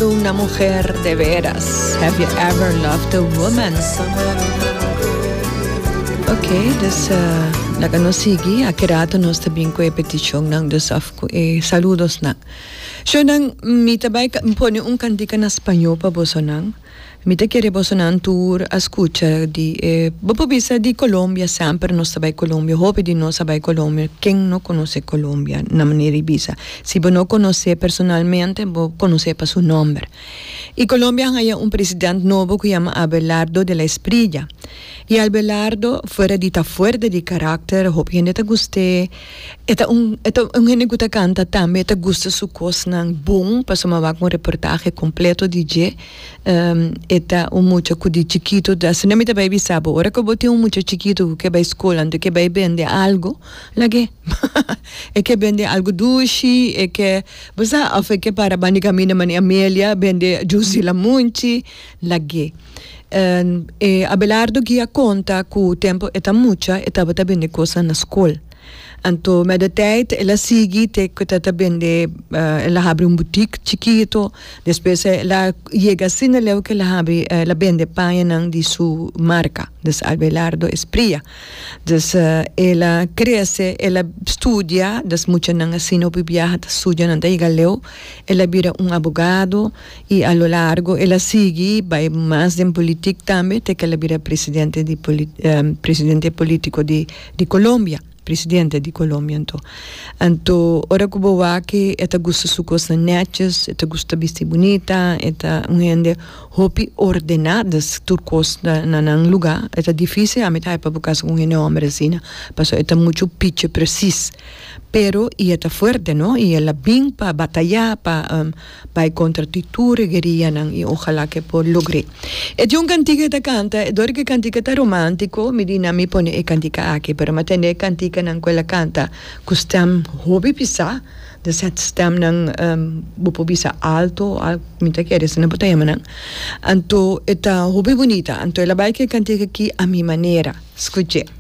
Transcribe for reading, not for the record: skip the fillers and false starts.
Una mujer de veras Have you ever loved a woman? Ok, dus laga nos sigui. Aki rato nos ta bin ku e petishonnan, dus òf ku e saludosnan. Shownan, mi ta bai pone un kantika na spañó pa bosonan. Mi ta kere bosonan tur a skucha di e, bo por bisa di Colombia, semper nos ta bai Colombia, hopi di nos a bai Colombia, ken no konosé Colombia na manera di bisa? Si bo no konosé personalmente, bo konosé pa su nomber. I Colombia a haña un president nobo ku yama Abelardo de la Espriella. I Abelardo, fuera di ta fuerte di karakter, hopi hende ta gust'é, e ta un e ta un hende ku ta kanta tambe, e ta gusta su kosnan bon, pasobra mi a wak un reportahe kompleto di dje. E ta un mucha ku di chikitu ta asina mi ta bai bisa bo ora ku bo tin un mucha chikitu ku ke bai skol anto ke bai bende algu lag'é e ke bende algu dushi e ke bo sa òf e ke para banda di kaminda manera Amelia bende jus di lamunchi lag'é e Abelardo ki a konta ku tempu e ta mucha e tabata bende kosnan na skol. Anto met de tijd el a sigui te cu ta ta bende, el a habri un boutique chikito, despues el a yega asina leu cu el a habri, el a bende pañanan di su marca, dus Abelardo Esprilla. Dus el a crece, el a studia, dus muchanan asina hopi biaha ta studia nan ta yega leu, el a bira un abogado y a lo largo el a sigui bay mas den politic tambe te cu el a bira presidente di presidente politico di Di Colombia, presidente di Colombia anto. Anto ora ku bo wak e ta gusta su kosnan netjes, e ta gusta bisti bunita, e ta un hende hopi ordená, dus tur kos ta na nan lugá. E ta difísil ami ta haipa bo kasa ku un hende hòmber asina, pasobra e ta muchu pichi presis. Pero i e ta fuerte no, i el a bin pa batayá pa. Bai kontra di tur e guerianan i ojalá ke por logr'é. E tin un kantika e ta kanta, e dor ku e kantika ta romántico, mi di nan mi pone e kantika aki, pero mi a tende e kantikanan ku el a kanta ku stèm hopi pisá, dus e stèmnan bo por bisa alto, mi ta kere asina bo ta yama nan, anto e ta hopi bunita, anto el a bai ku e kantika aki a mi manera, skuch'é.